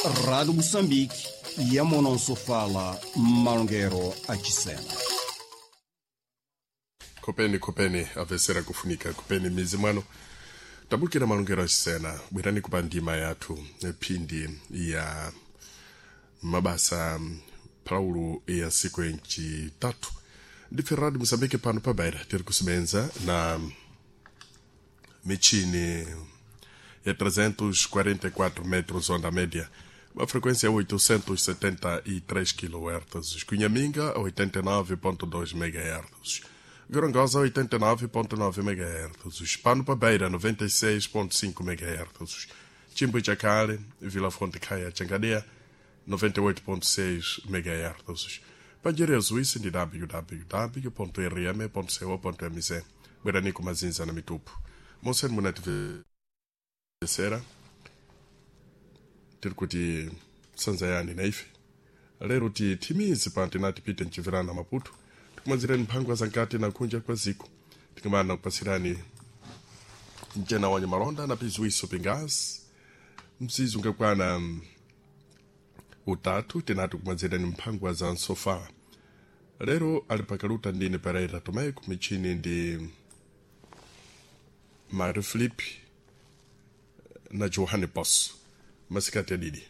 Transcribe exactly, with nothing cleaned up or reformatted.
Rádio Moçambique, Yamonosofala, Malongero achisena. Kopeni kopeni avesera kufunika kopeni mizi mwano tabukira malongero achisena bwerani kupa ndima yathu phindi ya mabasa phaulu ya siku yencitatu ndife Radio Moçambique pano pa Beira tiri kusebenza na michini ya trezentos e quarenta e quatro metros onda média, uma frequência oitocentos e setenta e três quilohertz, Cunhaminga oitenta e nove ponto dois megahertz, Gorongosa oitenta e nove ponto nove megahertz, Pano pa Beira noventa e seis ponto cinco megahertz, Chimbuchacale, Vila Fonte Caia, Changadeia noventa e oito ponto seis megahertz. Panjerezo isi ndi w w w ponto r m ponto co ponto m z. Bwerani kumazinza na mitupu monseni munativesera tiri kuti sanzayani na ife lero ti thimizi pano tinati pite mchivirana Maputo tikumazirani mphangwa za nkati na kunja kwa ziko tikumana kupasirani mchena wanyu malonda na piziwiso pingazi mzizi ungakwana mm, utatu tinati kumazirani mphangwa za nsofala. Lero ali pakaluta ndine Pereira Tomé, kumichini ndi Mário Felipe na Johanne Posso. Masikati adidi.